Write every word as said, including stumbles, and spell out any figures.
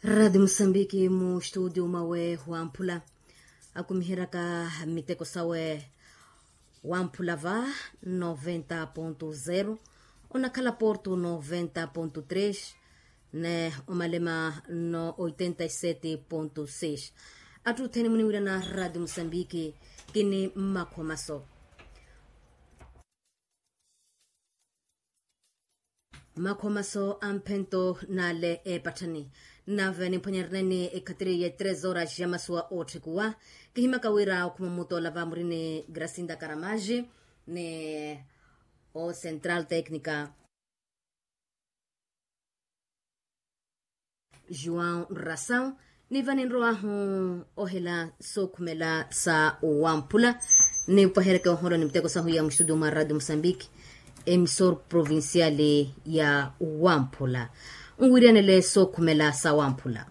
Radi musambiki mu studio mawe wamphula akumiheraka miteko sawe. Wamphula va noventa ponto zero, onakhala porto noventa ponto tres, ne omalema no oitenta e sete ponto seis. Atthu othene muniwirana radi musambiki. Kini mmakhomaso. Makhomaso a mphento n'ale eepatthani. Nave nimphwanya rineni ekhatiri ya tres horas ya masuwa ootthikuwa. Kihimaka wira okhuma mutoola va murini gracinda karamaji ni o central tecnica. Juan rasau. Niva ninrowahu ohela sookhumela sa wamphula. Nipahereke oholo ni miteko sahu ya mustudio mwa radio mosambiki, emisor provincial ya wamphula. Nwiriyanele sookhumela sa wamphula.